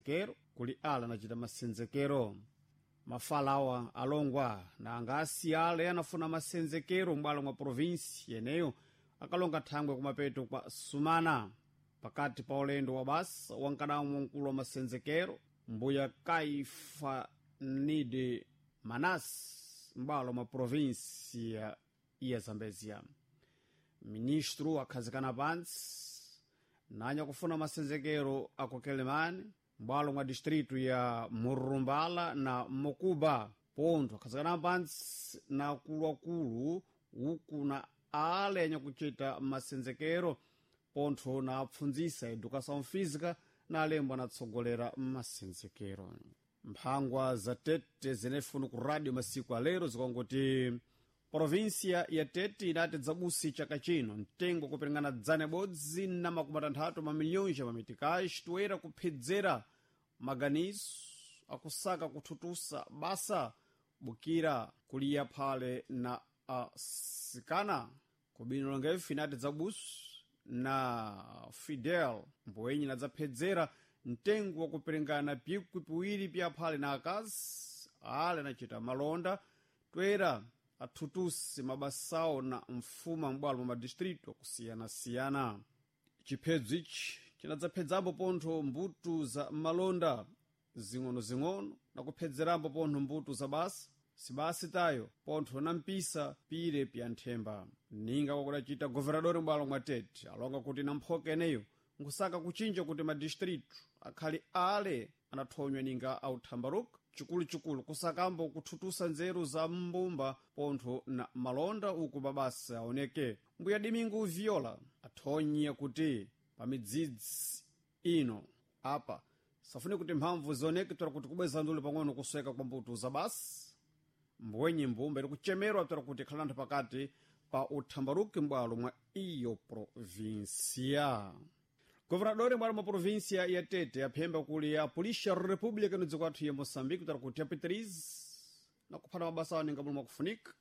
Kero kuli ala anacita masenzekero. Mafalawa alongwa na angasi ale anafuna masenzekero m'bwalo mwa provinsi yeneyo akalonga thangwe kumapeto kwa sumana pakati pa ulendo wa basa wankadamu wamkulu wa masenzekero mbuya Kaifa Nide Manas m'bwalo mwa provinsi ya Zambezia. Ministro akhazikana pantsi nanya kufuna masenzekero akukelemani m'bwalo mwa distrito ya Murumbala na Mokuba. Pontho akhazikana pantsi na akuluakulu uku na ale anyakucita masenzekero pontho na apfundzisa educação física na alembo anatsogolera masenzekero. Mphangwa za Tete zenefunu ku rádio masiku alero zikongoti provinsia ya Tete inati dzabusi chaka chino mtengo kuperingana 160 mamilhões ya mamitikais toera kuphedzera maganizo akusaka kuthutusa basa bukira kuliya phale na asikana. Kubino longefu inati dzabusu na Fidel mbowenyi nadzaphedzera mtengo wakuperingana pikwi piwiri pya phale na akazi ale anacita malonda toera athutusi mabasawo na mfuma m'bwalo mwa madistrito akusiyana-siyana. Chiphedzo ichi cinadzaphedzapo pontho mbuto za malonda zing'ono-zing'ono na kuphedzerambo pontho mbuto za basa sibasi tayo pontho na mpisa pire pya nthemba. Ninga kwakudacita governador m'bwalo mwa Tete alonga kuti na mphoka eneyo nkusaka kuchinja kuti madistrito akhali ale anathonywa ninga authambaruka chikuluchikulu kusakambo kuthutusa nzeru za mbumba pontho na malonda uku mabasa aoneke. Mbuya Domingo Viola athonya kuti pa midzidzi ino apa safune kuti mphamvu zioneke toera kuti kubweza ndule pang'ono kusweka kwa mbuto za basi mbwenye mbumba iri kuchemerwa toera kuti ikhala anthu pakati pa uthambaruki m'bwalo mwa iyo provinsia. Governador m'bwalo mwa provinsia ya Tete aphemba kuli ya Polícia República no dziko athu ya Moçambique toera kuti apitirize na kuphata mabasa awo ninga mulo mwakufunika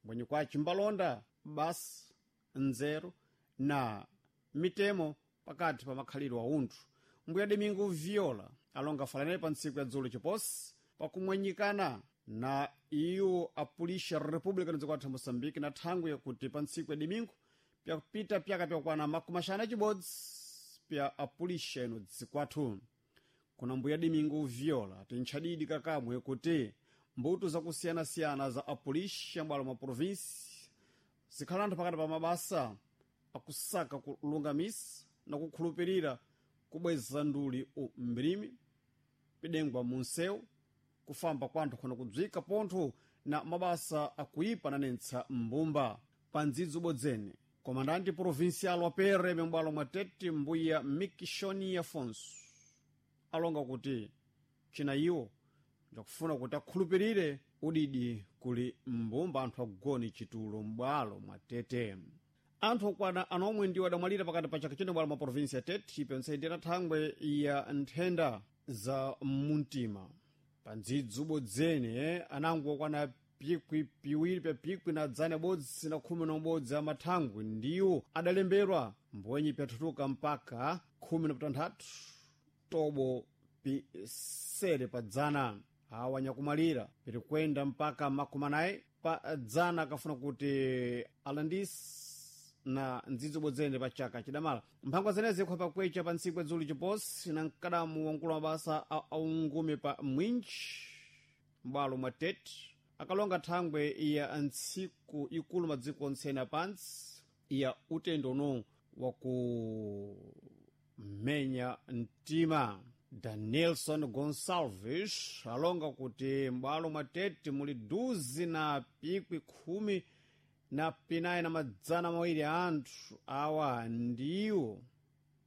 mbwenye kwaci mbalonda basa nzeru na mitemo pakati pa makhalidwe a unthu. Mbuya Domingo Viola alonga falanele pa ntsiku ya dzulo chiposi pakumwanyikana na iwo a Polícia República no dziko athu ya Moçambique na thangwe yakuti pa ntsiku ya domingo pyakupita pyaka pyakwana 50 pya apulisha ino dziko athu. Kuna mbuya Domingo Viola tintchadidi kakamwe kuti mbuto zakusiyana-siyana za apulisha m'bwalo mwa provinsi zikhala anthu pakati pa mabasa akusaka kulungamisa na kukhulupirira kubweza nduli umbilimi pidengwa munsewu kufamba kwanthu khona kudzwika pontho na mabasa akuipa nanentsa mbumba. Pa ndzidzi ubodzene komandante provincial wa PRM m'bwalo mwa Tete mbuya Mikishoni Afonso alonga kuti china iwo ndakufuna kuti akhulupirire udidi kuli mbumba anthu agoni chitulo m'bwalo mwa Tete. Anthu okwana anomwe ndiwo adamwalira pakati pa chaka chino m'bwalo mwa provinsi ya Tete ipense ndi thangwe ya nthenda za mumtima. Pa ndzidzi ubodzene anango okwana pikwi piwiri pya pikwi na 111 amathangwi ndiwo adalemberwa mbwenyi pyathutuka mpaka 16 tobo pisere pa dzana. Awa anyakumalira pirikwenda mpaka 40 pa dzana akafuna kuti alandisi na ndzidzi ubodzene pa chaka chidamala. Mphangwa zenezi ikhopa pakwecha pa ntsiku ya dzulo chiposi na mkadamu wamkulu wa mabasa aungume pa mwinji m'bwalo mwa Tete akalonga thangwe ya ntsiku ikulu madziko ontsene apantsi ya utendo uno wakumenya mtima. Danielson Gonsalves alonga kuti m'bwalo mwa Tete muli duzi na pikwi 14 200 a anthu awa ndiwo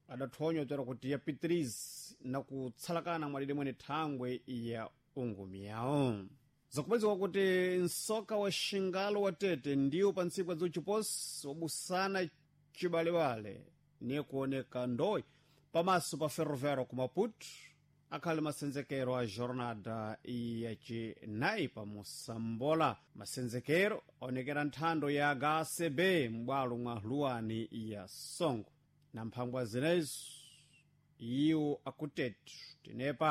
adathonywa toera kuti yapitirize na kutsalakana mwalire mwene thangwe ya ungumi yawo. Zakupezeka kuti msoka wa xingalo wa Tete ndiwo pa ntsiku ya chiposi wabusana chibalewale niye kuoneka ndoyi pamaso pa ferroviário ku Maputo akhali masenzekero a jornada yacinayi pa Mosambola. Masenzekero aonekera nthando ya HCB m'bwalo mwa luwani ya Songo na mphangwa zinezo iwo akutete tenepa.